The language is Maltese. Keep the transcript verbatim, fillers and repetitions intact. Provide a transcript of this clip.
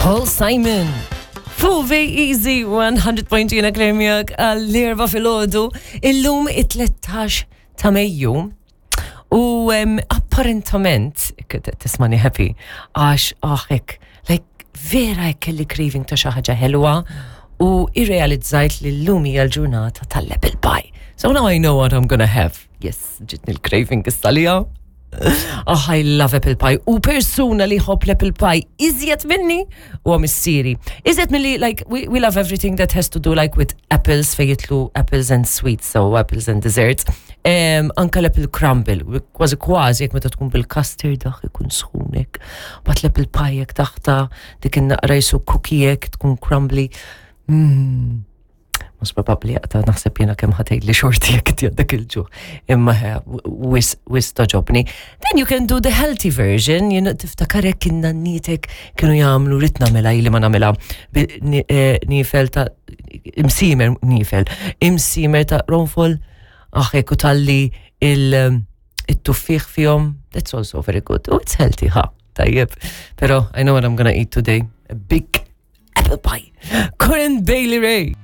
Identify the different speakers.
Speaker 1: Paul Simon. Fuq Easy one hundred point two, jiena Claire miegħek għall-erba' filgħodu, illum it-tlettax ta' Mejju. U um, apparentament, tismani happy, għax aħek, like, vera hekk kelli craving ta' xi ħaġa ħelwa u irrealizzajt li llum hija l-ġurnata tal-apple pie. So now I know what I'm gonna have. Yes, ġitni l-craving istalija. Oh, I love apple pie. U persuna li jħobb l-apple pie iżjed minni u missieri. Iżjed minni, like, we, we love everything that has to do like with apples, fejn jidħlu apples and sweets, so apples and desserts. Um, anka l-apple crumble, kważi kważi, jekk meta tkun bil-custard, dak ikun sħunek. But l-apple pie jekk taħta, dik in-naqra jisu cookie jekk tkun crumbly. Mm. Mhux probabbli jaqta' naħseb jiena kemm ħa tgħidli xorti jekk dak il-ġuħ. Imma wisq wisq togħġobni. Then you can do the healthy version, you know, tiftakar hekk in-nannitek kienu jagħmlu, rrid nagħmilha ili ma nagħmilha, eh, nifel ta' imsimer nifel, imsimer ta' ronfol, aħ hekk u talli il-tuffieħ fihom, that's also very good. Oh, it's healthy, ha, tajjeb. Pero I know what I'm gonna eat today, a big apple pie. Corinne Bailey Rae.